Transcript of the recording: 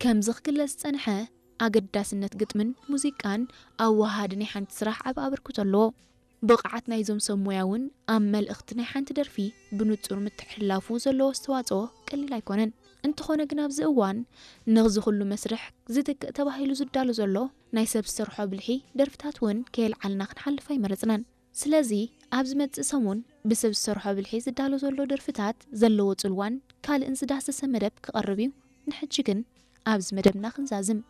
ከምዚ ክግለጽ ዝጸንሐ ኣገዳስነት ግጥምን ሙዚቃን ኣብ ወሃዲ ናይ ሓንቲ ስራሕ ዓቢ ኣበርክቶ ኣለዎ። ብቕዓት ናይዞም ሰብ ሞያ እውን ኣብ መልእኽቲ ናይ ሓንቲ ደርፊ ብንጹር ምትሕልላፉ ዘለዎ ኣስተዋጽኦ ቀሊል ኣይኮነን። እንተኾነ ግን ኣብዚ እዋን ነዚ ኩሉ መስርሕ ዝትክእ ተባሂሉ ዝዳሎ ዘሎ ናይ ሰብ ዝሰርሖ ብልሒ ደርፍታት እውን ከየልዓልና ክንሓልፍ ኣይመረጽናን። ስለዚ ኣብ ዝመጽእ ሰሙን ብሰብ ዝሰርሖ ብልሒ ዝዳሎ ዘሎ ደርፍታት ዘለዎ ጽልዋን ካልእን ዝዳሰሰ መደብ ክቐርብ እዩ። ንሕጂ ግን ኣብዚ መደብና ክንዛዝም።